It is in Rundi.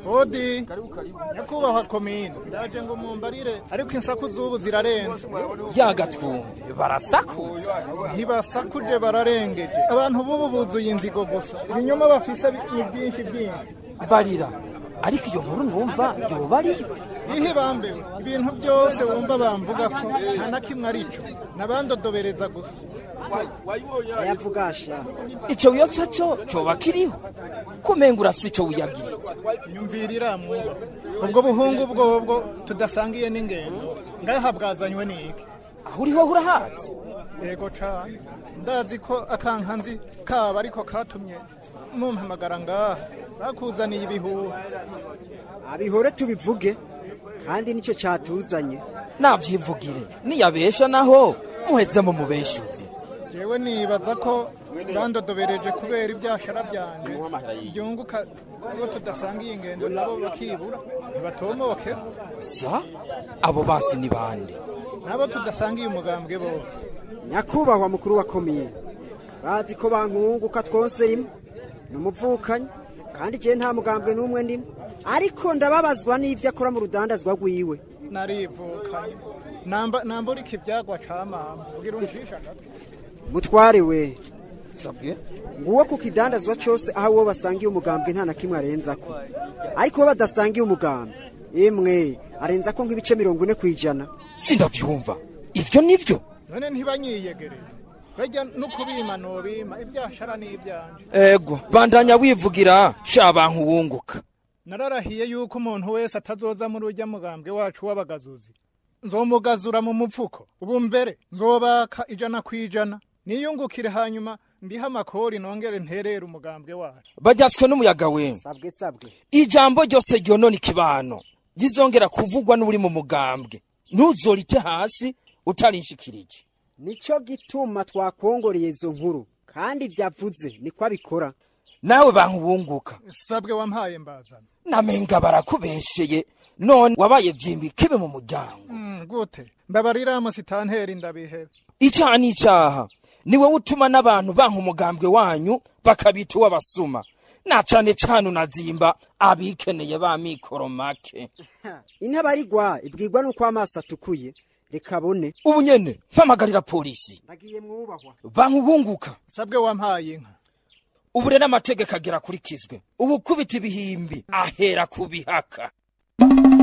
Odi nyakubahwa komine, ndaje ngo mumbarire, ariko insaku z'ubu zirarenze. Yagatwumve barasakutse. Ntibasakuje, bararengeje. Abantu b'ubu buzuye inzigo gusa, ibinyoma bafise ni byinshi byinshi. Barira, ariko iyo nkuru numva yoba ariyo? Ihe bambewe, ibintu byose wumva bamvuga ko nta na kimwe arico, nabandodobereza gusa. Yavugasha. Ico wiyotsa co coba kiriho, kumenga urafise ico wiyabwiritse. Nyumvirira mwuba, ubwo buhungu bwobwo tudasangiye n'ingendo ngaha bwazanywe n'iki? Aho uriho urahazi? Yego cane, ndazi ko akankanzi kaba ariko katumye mumpamagara ngaha. Bakuzaniye ibihuha. Abihore tubivuge, kandi nicyo cyatuzanye. Navyivugire, niyabesha naho muheze mu mubeshuzi. Jewe nibaza ko bandodobereje kubera ibyashara byanje byunguka ubwo tudasangiye ingendo, nabo bakibura ntibatomoke. Sa abo basi ni bande? Nabo tudasangiye umugambwe bose. Nyakubahwa mukuru wa komine, bazi ko bankunguka twose rimwe ni umuvukanyi, kandi je nta mugambwe n'umwe ndimo, ariko ndababazwa n'ibyo akora mu rudandazwa rwiwe. Narivukanye, namba namburika ibyagwa ca mama ugira uncisha agatwe. Mutware we. Sabwe. Nguwo ku kidandazwa cyose aho uwo basangiye umugambwe nta na kimwe arenzako, ariko uwo badasangiye umugambwe imwe arenzako nk'ibice 40%. Sindavyumva, ivyo nivyo? None ntibanyiyegereze, bajya no kubima nobima ibyashara n'ibyanje. Ego, bandanya wivugira sha bantu wunguka. Nararahiye yuko umuntu wese atazoza muri urya mugambwe wacu w'abagazuzi nzomugazura mu mupfuko. Ubu mbere nzobaka 100%, niyungukire, hanyuma ndiha amakori nongere nterere umugambwe wacu. Bajyaswe n'umuyaga we. Sabwe sabwe. Ijambo ryose ryonona ikibano rizongera kuvugwa n'uri mu mugambwe, ntuzorite hasi utarinshikirije. Nico gituma twakongoreye izo nkuru, kandi byavuze niko abikora. Nawe bantu wunguka. Sabwe wampaye mbazana. Namenga barakubesheye, none wabaye vyimbi kibe mu muryango. Gute mbabarira musitanteri, ndabihebe. Icaha n'icaha, niwe utuma n'abantu banka umugambwe wanyu bakabita uw'abasuma, na cane cane unazimba abikeneye ba mikoro make. Intabarigwa ibwirwa nuko amaso atukuye, reka bone. Ubu nyene mpamagarira polisi. Ndagiye mwubahwa. Bantu bunguka. Sabwe wampaye inka. Ubu rero amategeko agera akurikizwe, ubukubita ibihimbi ahera kubihaka.